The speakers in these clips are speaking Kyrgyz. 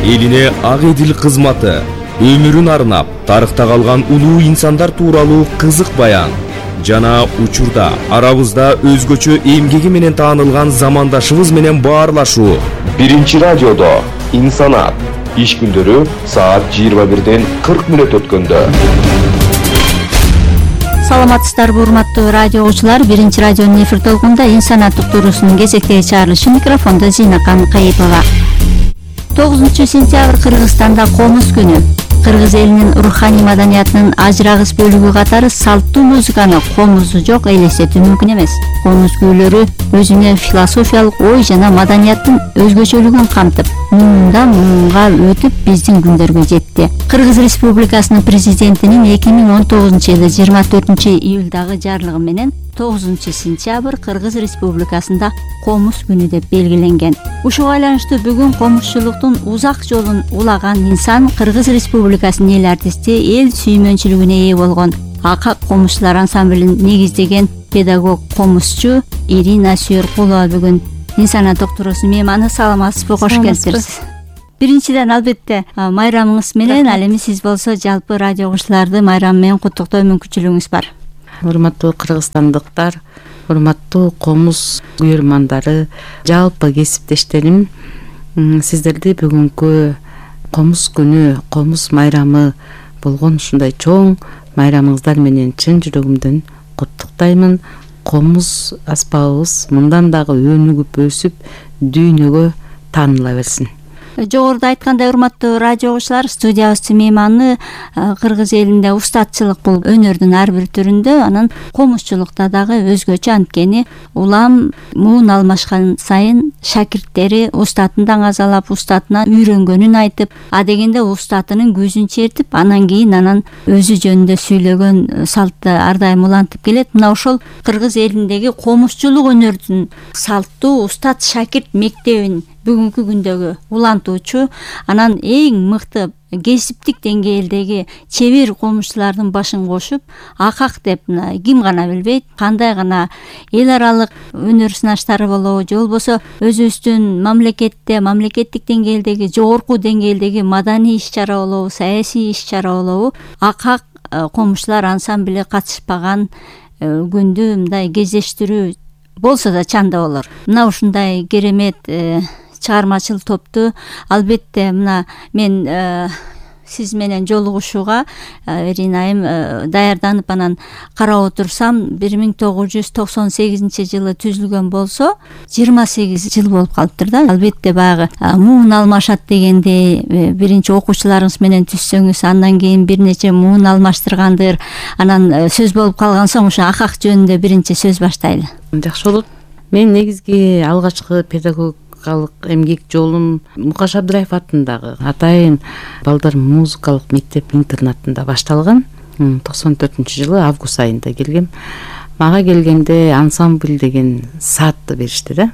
элине ак эдил кызматы, өмүрүн арнап тарыхта калган улуу инсандар тууралуу кызык баян жана учурда арабызда өзгөчө эмгеги менен таанылган замандашыбыз менен баарлашуу. Биринчи радиодо инсанат иш күндөрү саат 21-ден 40 мүнөт өткөндө. Саламатсыздарбы урматтуу радио угуучулар, биринчи радионун эфир толкунда инсанат уктуруусунун кезектеги чыгарылышы, микрофондо Зинакан Кайыпова. 9-сентябрь Кыргызстанда комуз күнү. Кыргыз элинин руханий маданиятынын ажырагыс бөлүгү катары салттуу музыканы комузу жок элестетүү мүмкүн эмес. Комуз күүлөрү өзүнө философиялык ой жана маданияттын өзгөчөлүгүн камтып, муундан муунга өтүп биздин күндөргө жетти. Кыргыз Республикасынын президентинин 2019-жылы 24-июлдагы жарлыгы менен 9-сентябрь Кыргыз Республикасында комуз күнү деп белгиленген. Ушуга байланыштуу бүгүн комузчулуктун узак жолун улаган инсан, Кыргыз Республикасынын эл артисти, эл сүймөнчүлүгүнө ээ болгон Акак комузчулар ансамблин негиздеген педагог комузчу Ирина Сүйөркулова бүгүн инсанат уктуруусунун мейманы. Саламатсызбы, кош келиптириз. Биринчиден албетте майрамыңыз менен, ал эми сиз болсо жалпы радио угуучуларды майрам менен куттуктоо мүмкүнчүлүгүңүз бар. Урматтуу кыргызстандыктар, урматтуу комуз күйөрмандары, жалпы кесиптештерим, сиздерди бүгүнкү комуз күнү, комуз майрамы болгон ушундай чоң майрамыңыздар менен чын жүрөгүмдөн куттуктаймын. Комуз аспабыбыз мындан дагы өнүгүп өсүп, дүйнөгө тааныла берсин. Жогоруда айткандай, урматтуу радио угуучулар, студиябыздын мейманы кыргыз элинде устатчылык бул өнөрдүн ар бир түрүндө, анан комузчулукта дагы өзгөчө. Анткени улам муун алмашкан сайын шакирттери устатын даңазалап, устатынан үйрөнгөнүн айтып, адегенде устатынын көзүн чертип, анан кийин өзү жөнүндө сүйлөгөн салтты ар дайым улантып келет. Мына ошол кыргыз элиндеги комузчулук өнөрдүн салттуу устат шакирт мектебин бүгүнкү күндөгү улантуучу, анан эң мыкты кесиптик деңгээлдеги чебер комузчулардын башын кошуп, Акак деп ким гана билбейт, кандай гана эл аралык өнөр сынаштары болобу, же болбосо өзүбүздүн мамлекеттик деңгээлдеги, жогорку деңгээлдеги маданий иш-чара болобу, саясий иш-чара болобу, Акак комузчулар ансамбли катышпаган күндү мындай кездештирүү болсо да чанда болор. Мына ушундай керемет чыгармачыл топту албетте мына мен сиз менен жолугушууга Ирина айым даярданып анан карап отурсам, 1998-жылы түзүлгөн болсо 28 жыл болуп калыптыр да. Албетте баягы муун алмашат дегенде биринчи окуучуларыңыз менен түзсөңүз, андан кийин бир нече муун алмаштыргандыр, анан сөз болуп калган соң ошо Акак жөнүндө биринчи сөз баштайлы. Жакшы болот. Мен негизги алгачкы педагогикалык эмгек жолум Мукаш Абдыраев атындагы Атайын балдар музыкалык мектеп-интернатында башталган. 94-жылы август айында келгем. Мага келгенде ансамбль деген саатты беришти да.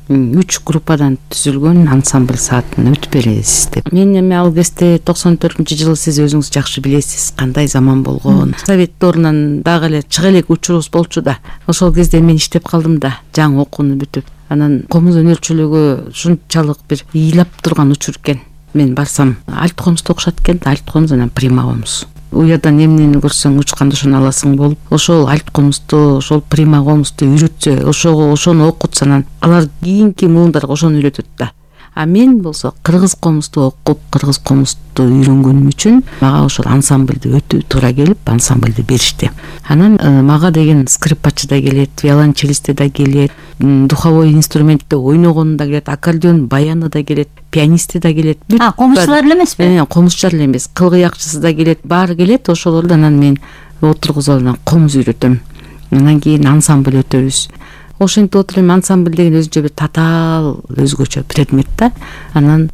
3 группадан түзүлгөн ансамбль саатын өтүп бересиз деп. Мен эми ал кезде 94-жылы сиз өзүңүз жакшы билесиз кандай заман болгон. Совет дорунан дагы эле чыга элек учурубуз болчу да. Ошол кезде мен иштеп калдым да, жаңы окууну бүтүп. Анан комуз өнөрчүлүгү ушунчалык бир ыйлап турган учур экен. Мен барсам, альт комузду окушат экен, альт комуз анан прима комуз. Уядан эмнени көрсөң учканды ошону аласың болуп, ошол альт комузду, ошол прима комузду үйрөтсө, ошону окутса, анан алар кийинки муундарга ошону үйрөтөт да. А мен болсо кыргыз комузду окуп, кыргыз комузду үйрөнгөнүм үчүн мага ошол ансамбльди өтүү туура келип, ансамбльди беришти. Анан мага деген скрипачы да келет, виолончелисти да келет, духовой инструментте ойногону да келет, аккордеон баяны да келет, пианисти да келет. Комузчулар эле эмеспи? Комузчулар эле эмес, кылгыякчысы да келет, баары келет. Ошолорду анан мен отургузуп анан комуз үйрөтөм. Андан кийин ансамбль өтөбүз. Ошентип отуруп ансамбль деген өзүнчө бир татаал өзгөчө предмет да. Анан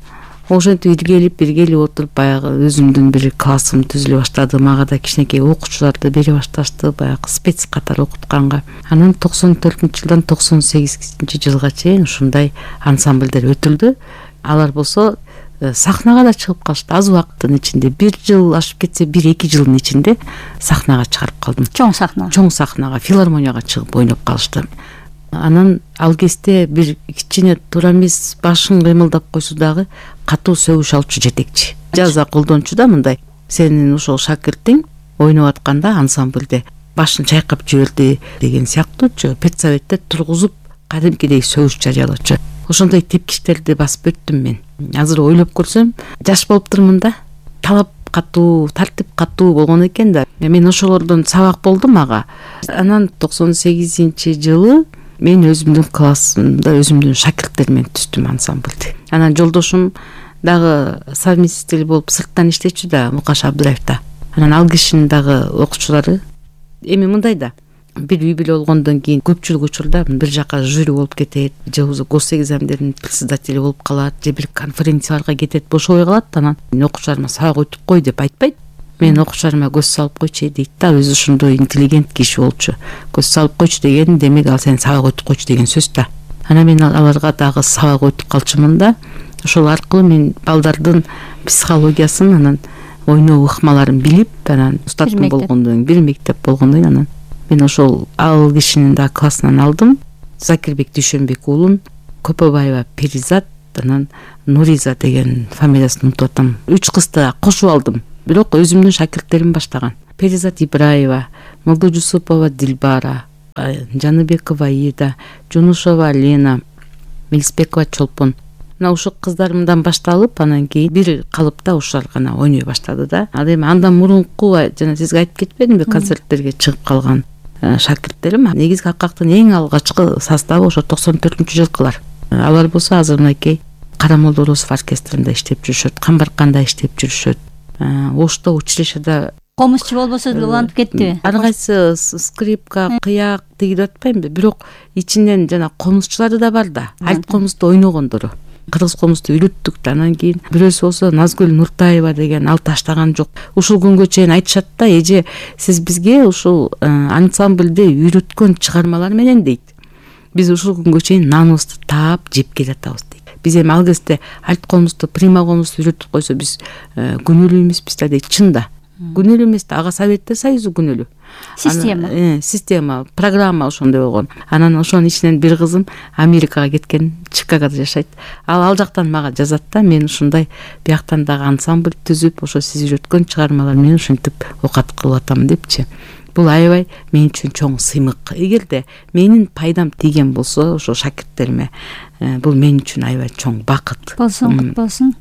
ошентип иргелип отуруп баягы өзүмдүн бир классым түзүлө баштады. Мага да кичинекей окуучуларды бере башташты, баягы спец катары окутканга. Анан 94-жылдан 98-жылга чейин ушундай ансамбльдер өтүлдү. Алар болсо сахнага да чыгып калышты. Аз убакыттын ичинде, 1 жыл ашып кетсе 1-2 жылдын ичинде сахнага чыгарып калдым. Чоң сахнага, филармонияга чыгып ойноп калышты. Анан ал кезде бир кичине туура эмес башын кыймылдап койсо дагы катуу сөгүш алчу жетекчи, жаза колдончу да, мындай: сенин ошол шакиртиң ойноп атканда ансамбльде башын чайкап жиберди деген сыяктуучу педсоветте тургузуп кадимкидей сөгүш жарыялачу. Ошондой тепкичтерди басып өттүм мен. Азыр ойлоп көрсөм, жаш болуптурмун да, талап катуу, тартип катуу болгон экен да. Мен ошолордон сабак болдум ага. Анан 98-жылы мен өзүмдүн классымда өзүмдүн шакирттерим менен түздүм ансамбльди. Анан жолдошум дагы совместитель болуп сырттан иштечү да, Мукаш Абдыраев да. Анан ал кишинин дагы окуучулары эми мындай да, бир үй бүлө болгондон кийин көпчүлүк учурда бир жака жюри болуп кетет, же болбосо госэкзамдердин председатели болуп калат, же бир конференцияларга кетет, бошобой калат. Анан окуучуларыма сабак өтүп кой деп айтпайт. Мен окуучуларыма көз салып койчу дейт да, өзү ошондой интеллигент киши болчу. Көз салып койчу деген демек ал сен сабак өтүп койчу деген сөз да. Анан мен аларга дагы сабак өтүп калчумун да. Ошол аркылуу мен балдардын психологиясын, анан ойноо ыкмаларын билип, анан устатым болгондон, бир мектеп болгондон анан мен ошол ал кишинин да классынан алдым. Закирбек Дүйшөнбек уулун, Көпөбаева Перизат, анан Нуриза деген фамилиясын унутуп атам. 3 кызды кошуп алдым. Бирок өзүмдүн шакирттерим баштаган. Перизат Ибраева, Молдожусупова Дилбара, Жаныбекова Ида, Жунушова Лена, Мелисбекова Чолпон. Мына ушул кыздарымдан башталып, анан кийин бир калыпта ушулар гана ойной баштады да. Ал эми андан мурунку жана сизге айтып кетпедимби, концерттерге чыгып калган шакирттерим негизги акактын эң алгачкы составы ошо 94-жылкылар. Алар болсо азыр мынакей Карамолдо Оросов оркестринде иштеп жүрүшөт, Камбарканда иштеп жүрүшөт. Ошто училищеде комузчу болбосо деле улантып кеттиби? Ар кайсы скрипка, кыяк тигип атпаймынбы, бирок ичинен жана комузчулары да бар да. Альт комузду ойногондору. Кыргыз комузду үйрөттүк да. Анан кийин бирөөсү болсо Назгүл Нуртаева деген, ал таштаган жок. Ушул күнгө чейин айтышат да, эже сиз бизге ушул ансамбльде үйрөткөн чыгармалар менен дейт, биз ушул күнгө чейин наныбызды таап жеп келатабыз дейт. Биз эми ал кезде альт комузду, прима комузду үйрөтүп койсо биз күнөөлүү эмеспиз да дейт. Чын да. Күнөөлүү эмес да, ага Советтер Союзу күнөөлүү. Система, программа ошондой болгон. Анан ошонун ичинен бир кызым Америкага кеткен, Чикагода жашайт. Ал жактан мага жазат да, мен ушундай бияктан дагы ансамбль түзүп, ошо сиз үйрөткөн чыгармалар менен ушинтип окат кылып атам депчи. Бул аябай мен үчүн чоң сыймык. Эгерде менин пайдам тийген болсо ошо шакирттериме, бул мен үчүн аябай чоң бакыт болсун, болсун.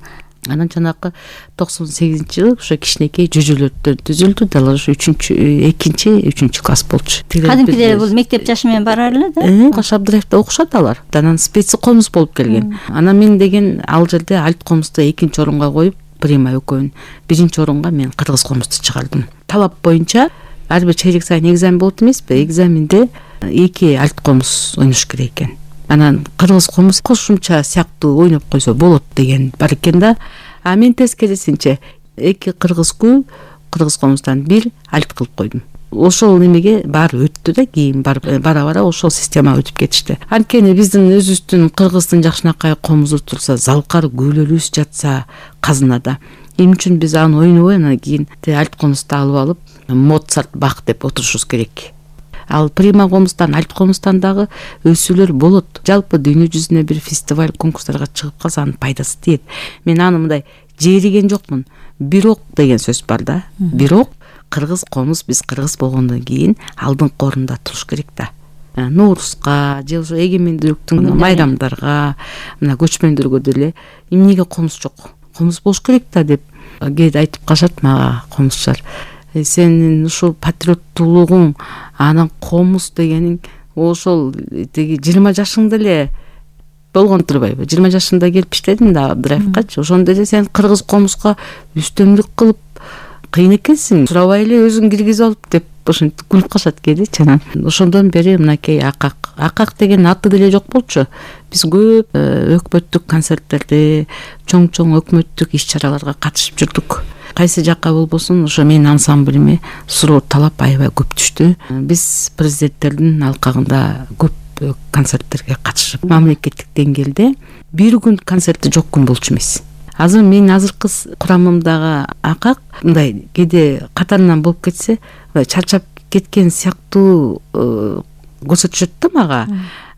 Анан жанакы 98-жылы ошо кичинекей жүжөлөрдөн түзүлдү да, ошо 2-3 класс болчу. Кадимкидей бул мектеп жашы менен барар эле да. Мукаш Абдыраевда окушат алар. Анан специ комуз болуп келген. Анан мен деген ал жерде альт комузду 2-нчи орунга коюп, прима экөөнү 1-нчи орунга мен кыргыз комузду чыгардым. Талап боюнча ар бир чейрек сайын экзамен болот эмеспи? Экзаменде 2 альт комуз ойнош керек экен. Анан кыргыз комуз кошумча сыяктуу ойноп койсо болот деген бар экен да. А мен тескерисинче 2 кыргыз күй, кыргыз комуздан 1 альт кылып койдум. Ошол немеге баары өттү да, кийин бара ошол система өтүп кетишти. Анткени биздин өзүбүздүн кыргыздын жакшынакай комузу турса, залкар күйлөрүбүз жатса казынада. Эмне үчүн биз аны ойнобой анан кийин альт комузду алып алып Моцарт, Бах деп отурушубуз керек. Ал прима комуздан, альт комуздан дагы өсүүлөр болот. Жалпы дүйнө жүзүнө бир фестиваль, конкурстарга чыгып калса анын пайдасы тиет. Мен аны мындай жериген жокмун. Бирок деген сөз бар да. Бирок кыргыз комуз, биз кыргыз болгондон кийин алдыңкы орунда туруш керек да. Ноорузга, же ошо эгемендүүлүктүн майрамдарга, мына көчмөндөргө деле эмнеге комуз жок? Комуз болуш керек да деп кээде айтып калышат мага комузчулар. Сенин ушул патриоттуулугуң, анан комуз дегениң ошол теги 20 жашыңда эле болгон турбайбы? 20 жашында келип иштедим да Абдыраевкачы. Ошондо эле сен кыргыз комузга үстөмдүк кылып кыйын экенсиң. Сурабай эле өзүң киргизип алып деп ошентип күлүп калышат кээдечи. Анан ошондон бери мынакей акак деген аты деле жок болчу. Биз көп өкмөттүк концерттерде, чоң өкмөттүк иш-чараларга катышып жүрдүк. Кайсы жакка болбосун ошо менин ансамблиме суроо талап аябай көп түштү. Биз президенттердин алкагында көп концерттерге катышып, мамлекеттик деңгээлде бир күн концерти жок күн болчу эмес. Азыр менин азыркы курамымдагы акак мындай кээде катарынан болуп кетсе, чарчап кеткен сыяктуу көрсөтүшөт да мага.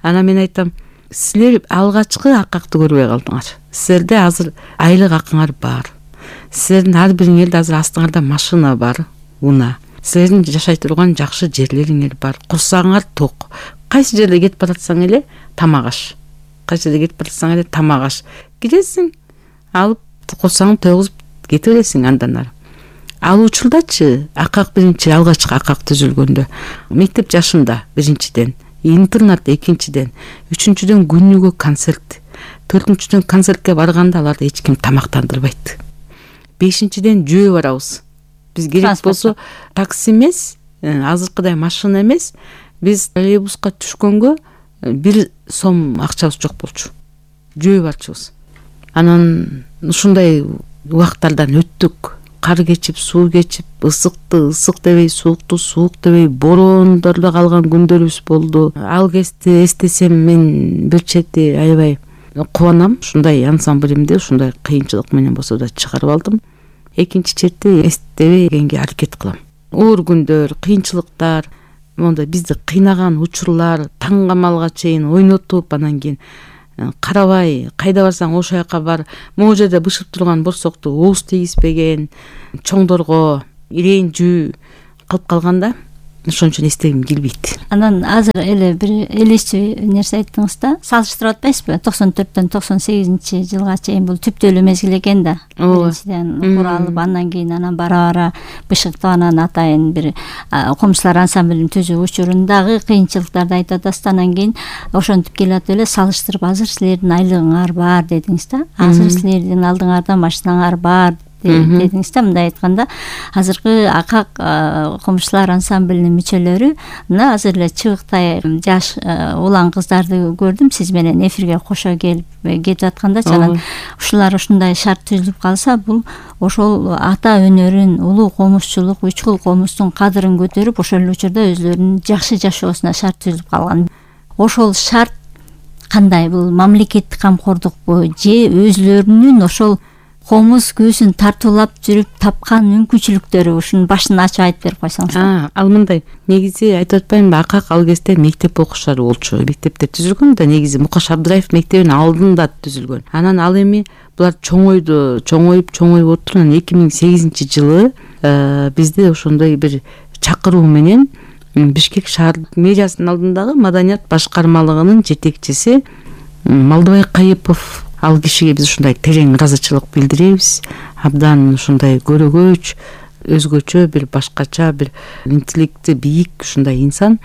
Анан мен айтам, силер алгачкы акакты көрбөй калдыңар. Силерде азыр айлык акыңар бар. Силердин ар бириңерде азыр астыңарда машина бар, унаа. Силердин жашай турган жакшы жерлериңер бар. Курсагыңар ток. Кайсы жерде кетип баратсаң эле тамак аш. Кайсы жерде кетип баратсаң эле тамак аш. Киресиң, алып курсагың тойгузуп кете бересиң андан ары. Ал учурдачы акак биринчи алгачкы акак түзүлгөндө мектеп жашында биринчиден, интернат экинчиден, үчүнчүдөн күнүгө концерт, төртүнчүдөн концертке барганда аларды эч ким тамактандырбайт. Бешинчиден жөө барабыз. Биз керек болсо такси эмес, азыркыдай машина эмес, биз троллейбуска түшкөнгө 1 сом акчабыз жок болчу. Жөө барчубуз. Анан ушундай убактардан өттүк. Кар кечип, суу кечип, ысыкты ысык дебей, суукту суук дебей, бороондордо калган күндөрүбүз болду. Ал кезде эстесем мен бир чети аябай кубанам. Ушундай ансамблимди ушундай кыйынчылык менен болсо да чыгарып алдым. Экинчи чети эстебей келгенге аракет кылам. Оор күндөр, кыйынчылыктар, монда бизди кыйнаган учурлар, таң камалга чейин ойнотуп, анан кийин карабай, кайда барсаң ошол жака бар. Могу жерде бышып турган борсокту ооз тийгизбеген, чоңдорго ирээндүү кылып калганда, ошон үчүн эстегим келбейт. Анан азыр эле бир элестүү нерсе айттыңыз да, салыштырып атпайсызбы? 94-төн 98-жылга чейин бул түптөлүү мезгил экен да. Биринчиден куралып, андан кийин анан бара-бара бышыктап, анан атайын бир комшулар ансамблин түзүү учурундагы кыйынчылыктарды айтып атасыз. Анан кийин ошентип келатып эле салыштырып, азыр силердин айлыгыңар бар дедиңиз да. Азыр силердин алдыңарда машинаңар бар дедиңиз да. Мындай айтканда, азыркы акак комшулар ансамблинин мүчөлөрү мына азыр эле чыбыктай жаш улан кыздарды көрдүм сиз менен эфирге кошо келип кетип атканда. Анан ушулар ушундай шарт түзүлүп калса, бул ошол ата өнөрүн, улуу комузчулук, үчкул комуздун кадырын көтөрүп, ошол учурда өзлөрүнүн жакшы жашоосуна шарт түзүлүп калган. Ошол шарт кандай? Бул мамлекеттик камкордукпу же өзлөрүнүн ошол комуз көзүн тартуулап жүрүп тапкан мүмкүнчүлүктөрү? Ушунун башын ачып айтып берип койсоңуз. Ал мындай, негизи айтып атпаймынбы, акак ал кезде мектеп окуучулары болчу. Мектептер түзүлгөн да, негизи Мукаш Абдыраев мектебинин алдында түзүлгөн. Анан ал эми булар чоңоюп отуруп, 2008-жылы бизде ошондой бир чакыруу менен Бишкек шаар мэриясынын алдындагы маданият башкармалыгынын жетекчиси Малдыбай Кайыпов, ал кишиге биз ушундай терең ыраазычылык билдиребиз. Абдан ушундай көрөгөч, өзгөчө бир башкача бир интеллекти бийик ушундай инсан.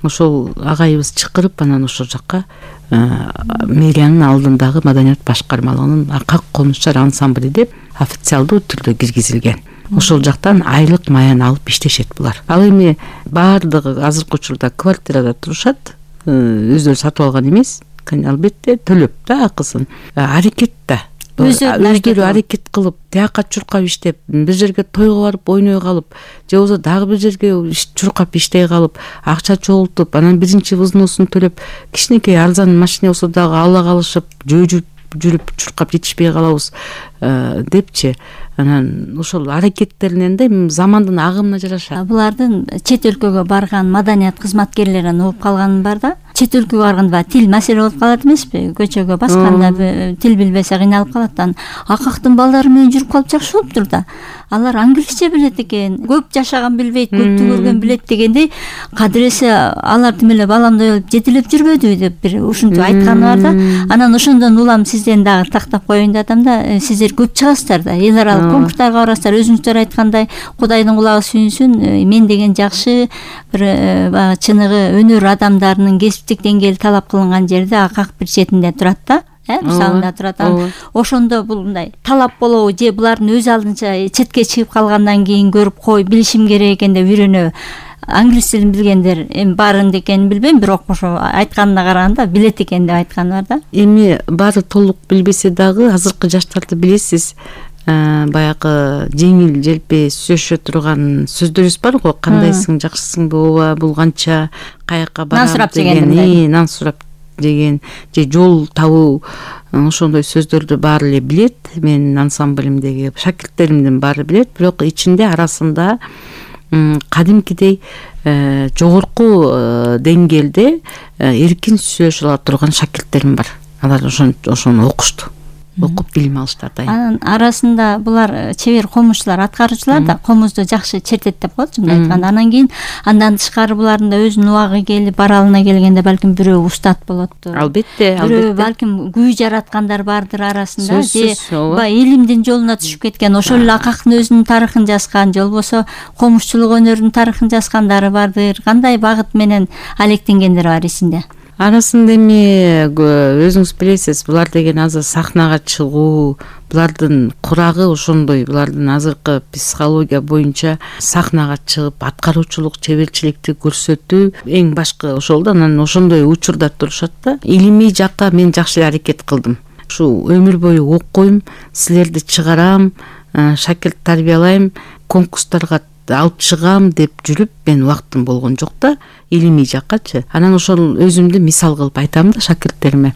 Ошол агайыбыз чакырып, анан ошол жакка мэриянын алдындагы маданият башкармалыгынын акак комузчулар ансамбли деп официалдуу түрдө киргизилген. Ошол жактан айлык маян алып иштешет булар. Ал эми баардыгы азыркы учурда квартирада турушат, өздөрү сатып алган эмес, албетте төлөп да акысын. Аракет да. Өздөрү аракет кылып, тияка чуркап иштеп, бир жерге тойго барып ойной калып, же болбосо дагы бир жерге чуркап иштей калып, акча чогултуп, анан биринчи взносун төлөп, кичинекей арзан машина болсо дагы ала калышып, жүрүп чуркап жетишпей калабыз депчи. Анан ошол аракеттеринен да замандын агымына жараша. Булардын чет өлкөгө барган маданият кызматкерлеринен угуп калганым бар да. Чет өлкөгө барганда тил маселе болуп калат эмеспи? Көчөгө басканда тил билбесе кыйналып калат. Акактын балдары менен жүрүп калып жакшы болуптур да. Алар англисче билет экен, көп жашаган билбейт, көптү көргөн билет дегендей, кадыресе алар тим эле баламдай болуп жетилеп жүрбөдү деп бир ушинтип айтканы бар да. Анан ошондон улам сизден дагы тактап коеюн деп атам да. Сиздер көп чыгасыздар да. Эл аралык конкурстарга барасыздар. Өзүңүздөр айткандай, Кудайдын кулагы сүйүнсүн, мен деген жакшы бир баягы чыныгы өнөр адамдарынын кесиптик деңгээли талап кылынган жерде акак бир четинде турат да. Мисалында турат. Ошондо бул мындай талап болобу же булардын өз алдынча четке чыгып калгандан кийин көрүп кой билишим керек экен деп үйрөнөбү? Англис тилин билгендер эми баарын экенин билбейм, бирок ошо айтканына караганда билет экен деп айтканы бар да. Эми баары толук билбесе дагы азыркы жаштарды билесиз, баягы жеңил желпи сүйлөшө турган сөздөрүбүз бар го. Кандайсың, жакшысыңбы, ооба, бул канча, каяка барам деген, нан сурап деген, же жол табуу, ошондой сөздөрдү баары эле билет. Менин ансамблимдеги шакирттеримдин баары билет, бирок ичинде арасында кадимкидей жогорку деңгээлде эркин сүйлөшө ала турган шакирттерим бар. Алар ошону окушту, окуп билим алышты атайын. Анын арасында булар чебер комузчулар, аткаруучулар да комузду жакшы чертеттеп коет, чынын айтканда. Анан кийин андан тышкары булардын да өзүнүн убагы келип баралына келгенде балким бирөө устат болоттур. Албетте, Бирөө балким күй жараткандар бардыр арасында. Же илимдин жолуна түшүп кеткен, ошол эле акактын өзүнүн тарыхын жазган, же болбосо комузчулук өнөрүнүн тарыхын жазгандары бардыр. Кандай багыт менен алектенгендер бар эсинде? Арасында эми өзүңүз билесиз, булар деген азыр сахнага чыгуу, булардын курагы ошондой, булардын азыркы психология боюнча сахнага чыгып аткаруучулук, чеберчиликти көрсөтүү эң башкы ошол да. Анан ошондой учурда турушат да. Илимий жакка мен жакшы аракет кылдым. Ушу өмүр бою окуйм, силерди чыгарам, шакирт тарбиялайм, конкурстарга алып чыгам деп жүрүп мен убактым болгон жок да, илимий жаккачы. Анан ошол өзүмдү мисал кылып айтам да шакирттериме.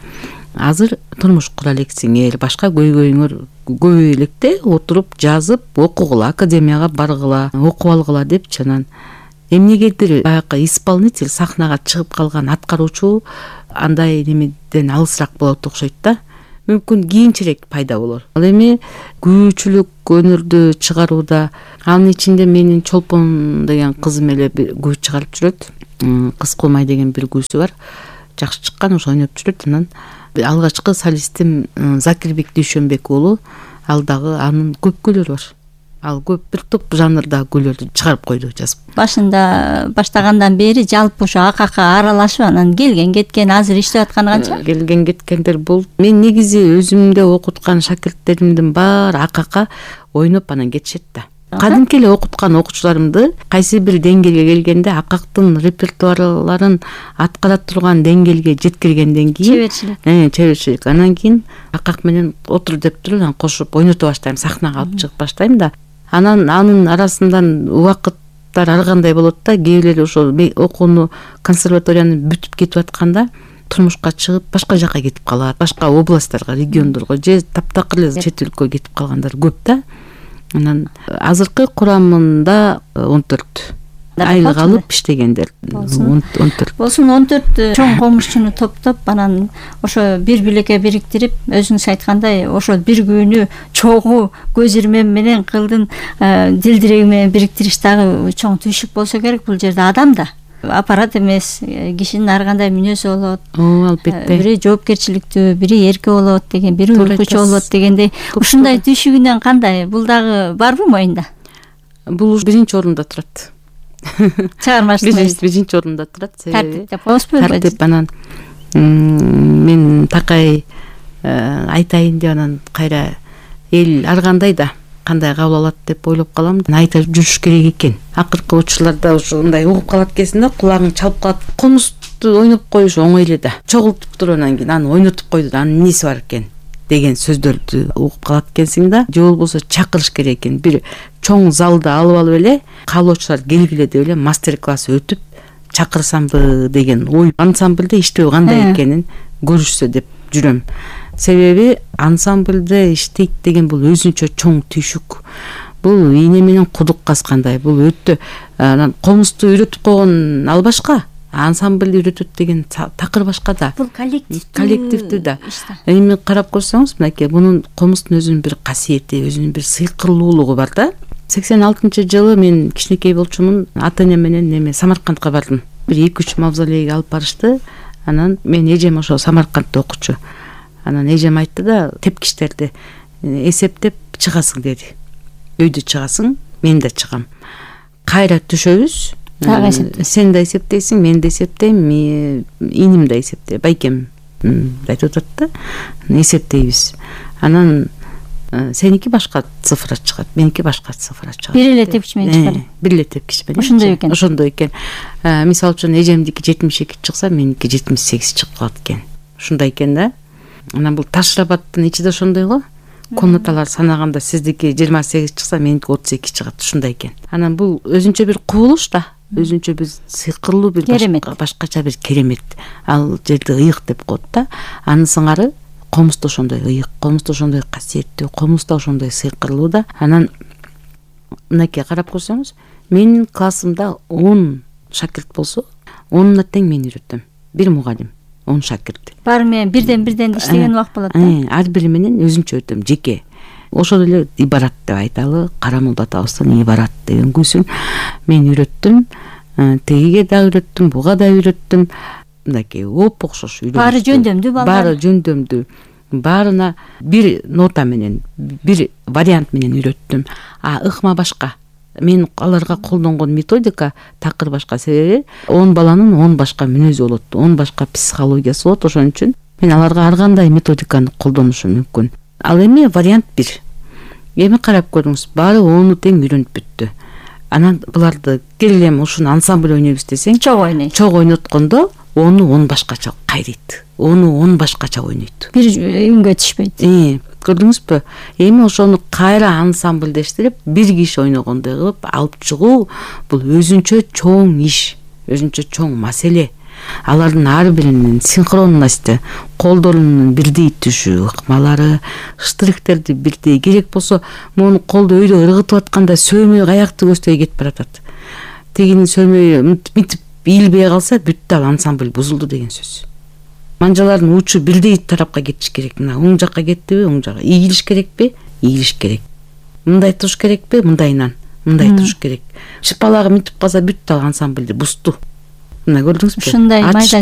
Азыр турмуш кура элексиңер, башка көйгөйүңөр көбөй электе, отуруп жазып окугула, академияга баргыла, окуп алгыла депчи. Анан эмнегедир баягы исполнитель, сахнага чыгып калган аткаруучу андай немеден алысыраак болот окшойт да. Мүмкүн кийинчерээк пайда болор. Ал эми күүчүлүк өнөрдү чыгарууда, анын ичинде менин Чолпон деген кызым эле күү чыгарып жүрөт. Кыз кулмай деген бир күүсү бар. Жакшы чыккан, ошо ойноп жүрөт. Анан алгачкы солистим Закирбек Дүйшөнбек уулу, ал дагы анын көп күйлөрү бар. Ал көп бир топ жанрда күйлөрдү чыгарып койду, жазып. Башында баштагандан бери жалпы ошо АКК аралашып, анан келген кеткен, азыр иштеп атканы канча? Келген кеткендер бул. Мен негизи өзүмдө окуткан шакирттеримдин баары АКК ойноп анан кетишет да. Кадимки эле окуткан окуучуларымды кайсы бир деңгээлге келгенде АККтын репертуарларын аткара турган деңгээлге жеткиргенден кийин чеберчилик. Анан кийин АКК менен отур деп туруп, анан кошуп ойното баштайм, сахнага алып чыгып баштайм да. Анан анын арасынан убакыттар ар кандай болот да. Кээ бирлери ошол окууну, консерваторияны бүтүп кетип атканда турмушка чыгып башка жака кетип калат, башка областтарга, региондорго же таптакыр эле чет өлкөгө кетип калгандар көп да. Анан азыркы курамында 14 айлык алып иштегендер. 14 болсун. 14 чоң комузчуну топтоп, анан ошо бир билекке бириктирип, өзүңүз айткандай ошол бир күнү чогуу көз ирмем менен кылдын дилдиреги менен бириктириш дагы чоң түйшүк болсо керек. Бул жерде адам да, аппарат эмес, кишинин ар кандай мүнөзү болот. Албетте. Бири жоопкерчиликтүү, бири эрке болот деген, бири уйкучу болот дегендей. Ушундай түйшүгүнөн кандай? Бул дагы барбы моюнда? Бул биринчи орунда турат. Чыгармачылык биринчи орунда турат. Тартип деп коебузбу? Тартип. Анан мен такай айтайын деп анан кайра эл ар кандай да кандай кабыл алат деп ойлоп калам. Айта жүрүш керек экен. Акыркы учурларда ушундай угуп калат экенсиң да, кулагың чалып калат. Комузду ойноп коюш оңой эле да. Чогултуп туруп анан кийин аны ойнотуп койду да, анын эмеси бар экен деген сөздөрдү угуп калат экенсиң да. Же болбосо чакырыш керек экен. Бир чоң залда алып эле каалоочулар келгиле деп эле мастер-класс өтүп чакырсамбы деген ой. Ансамбльде иштөө кандай экенин көрүшсө деп жүрөм. Себеби ансамбльде иштейт деген бул өзүнчө чоң түйшүк. Бул ийне менен кудук казгандай. Бул өтө анан комузду үйрөтүп койгон ал башка, ансамбль үйрөтөт деген такыр башка да. Бул коллективдүү да. Эми карап көрсөңүз, мынакей бунун комуздун өзүнүн бир касиети, өзүнүн бир сыйкырлуулугу бар да. 86-жылы мен кичинекей болчумун, ата-энем менен Самаркандка бардым. Бир 2-3 мавзолейге алып барышты. Анан мен эжем ошо Самаркандда окучу. Анан эжем айтты да, тепкичтерди эсептеп чыгасың деди. Өйдө чыгасың, мен да чыгам. Кайра түшөбүз. Сен да эсептейсиң, мен да эсептейм, иним да эсептейт, байкем айтып атат да. Эсептейбиз. Анан сеники башка цифра чыгат, меники башка цифра чыгат. Бир эле тепкич менен чыгат. Бир эле тепкич менен. Ошондой экен. Ошондой экен. Мисалы үчүн эжемдики 72 чыкса, меники 78 чыгып калат экен. Ушундай экен да. Анан бул Ташрабаттын ичи да ошондой го. Комнаталар санаганда сиздики 28 чыкса, меники 32 чыгат. Ушундай экен. Анан бул өзүнчө бир кубулуш да. Өзүнчө бир сыйкырлуу бир башкача бир керемет. Ал жерде ыйык деп коет да. Анын сыңары комузда ошондой ыйык, комузда ошондой касиеттүү, комузда ошондой сыйкырлуу да. Анан мынакей карап көрсөңүз, менин классымда 10 шакирт болсо, 10-на тең мен үйрөтөм. Бир мугалим, 10 шакирт. Баары менен бирден иштеген убак болот да. Ар бири менен өзүнчө өтөм, жеке. Ошол эле ибарат деп айталы, Карамолда атабыздан ибарат деген күсүн мен үйрөттүм. Тегиге да үйрөттүм, буга да үйрөттүм. Мынакей окшош үйрөнүштү. Баары жөндөмдүү балдар. Баары жөндөмдүү. Баарына бир нота менен, бир вариант менен үйрөттүм. Ыкма башка. Мен аларга колдонгон методика такыр башка. Себеби 10 баланын 10 башка мүнөзү болот, 10 башка психологиясы болот. Ошон үчүн мен аларга ар кандай методиканы колдонушум мүмкүн. Ал эми вариант бир. Эми карап көрүңүз, баары 10 тең үйрөнүп бүттү. Анан буларды келем ушуну ансамбль ойнойбуз десең, чогуу ойноткондо 10 башкача кайрыйт. 10 башкача ойнойт. Бир үнгө түшпөйт. Көрдүңүзбү? Эми ошону кайра ансамбльдештирип, бир киши ойногондой кылып алып чыгуу бул өзүнчө чоң иш, өзүнчө чоң маселе. Алардын ар биринин синхронности, колдорунун бирдей түшү, ыкмалары, штрихтерди бирдей. Керек болсо, мону колду өйдө ыргытып атканда сөөмөй аякты көздөй кетип баратат. Тегинин сөөмөй мынтип ийилбей калса, бүттү, ал ансамбль бузулду деген сөз. Манжалардын учу бирдей тарапка кетиш керек. Мына оң жакка кеттиби, оң жакка. Ийилиш керекпи? Ийилиш керек. Мындай туруш керекпи? Мындайынан. Мындай туруш керек. Шыпалагы мынтип калса бүттү, ал ансамбльди бузду. Мына көрдүңүзбү? Ушундай майда